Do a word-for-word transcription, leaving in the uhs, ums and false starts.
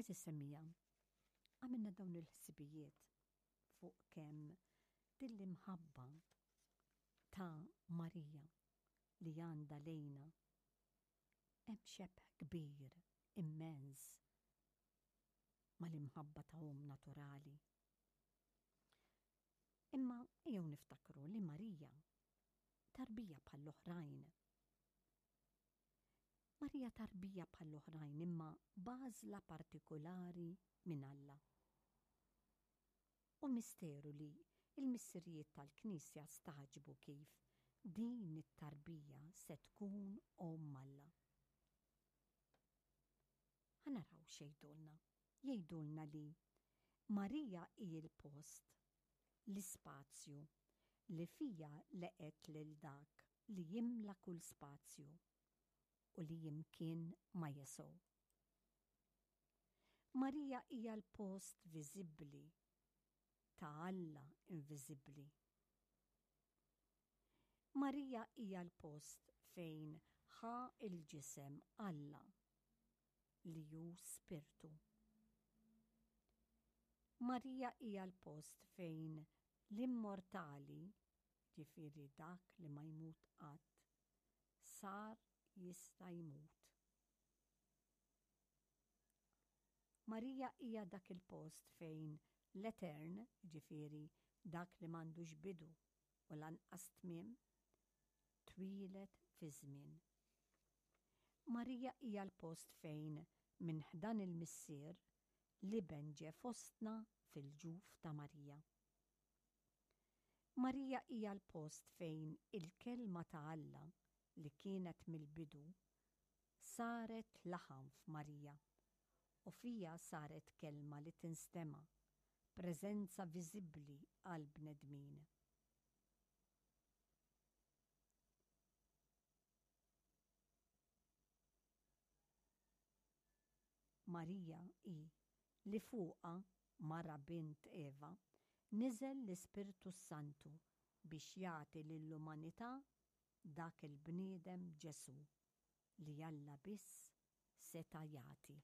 Għeżież semmiegħa, għamilna dawn il-ħsibijiet fuq kemm din l-imħabba ta' Marija li għandha lejna hemm xebh kbir, immens, mal-imħabba ta' omm naturali. Imma ejjew niftakru li Marija tarbija bħall-oħrajn. Marija tarbija bħall-oħrajn imma b'għażla partikulari minn Alla. U misteru li il-missirijiet tal-Knisja stagħġbu kif din it-tarbija se tkun omm Alla. Ħa naraw x'jgħidulna. Jgħidulna li Marija hi l-post, l-ispazju li fiha laqgħet lil dak li jimla kull spazju u li imkien ma jesgħu. Marija hija l-post viżibbli ta' Alla inviżibbli. Marija hija l-post fejn ħa il-ġisem Alla li hu spirtu. Marija hija l-post fejn l-immortali, ġifieri dak li ma jmut qatt, sar jista' jmut. Marija hija dak il-post fejn l-etern, ġifieri dak li m'għandux bidu u lanqas tmiem, twieled fi żmien. Marija hija l-post fejn minn ħdan il-Missier l-Iben ġie fostna fil-ġuf ta' Marija. Marija hija l-post fejn il-kelma ta' Alla li kienet mill-bidu saret laħam f'Marija u fija saret kelma li tinstema', preżenza viżibbli għall-bnedmin. Marija hi li fuqha, mara bint Eva, niżel l-Ispirtu s-Santu biex jagħti lill-umanità dak il-bniedem Ġesù li Alla biss seta' jagħti.